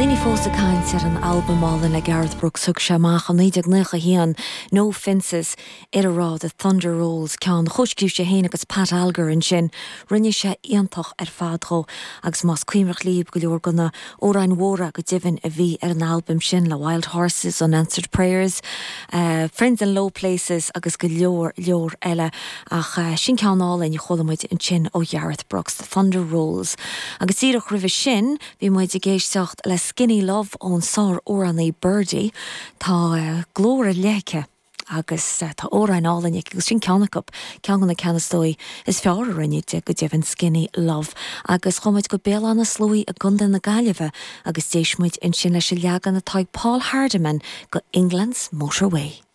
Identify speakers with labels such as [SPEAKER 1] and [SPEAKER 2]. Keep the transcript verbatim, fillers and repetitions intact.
[SPEAKER 1] daoine fós ag caint ar an albam álainn le Garth Brooks thug sé amach i naoi déag nócha haon No Fences ar a raibh The Thunder Rolls ceann chomhscríobh sé féin agus Pat Alger ansin rinne sé iontach ar fad dhó agus más cuimhneach libh go leor de na hamhráin mhóra go deimhin a bhí ar an albam sin le Wild Horses Unanswered Prayers, uh, Friends in Low Places agus go leor leor eile ach uh, sin ceann álainn a chuala muid ansin ó Garth Brooks The Thunder Rolls. Agus díreach roimhe sin bhí muid ag éisteacht le Skinny Love ón sár-amhránaí Birdy tá uh, glór léice agus uh, tá amhráin álainn agus sin ceann acu ceann na ceanastóí is fearr a rinne de go deimhin Skinny Love agus chuaigh muid go Béal Átha na Sluaighe i gContae na Gaillimhe agus d'éist muid ansin leis an leagan atá ag Paul Hardiman go England's Motorway.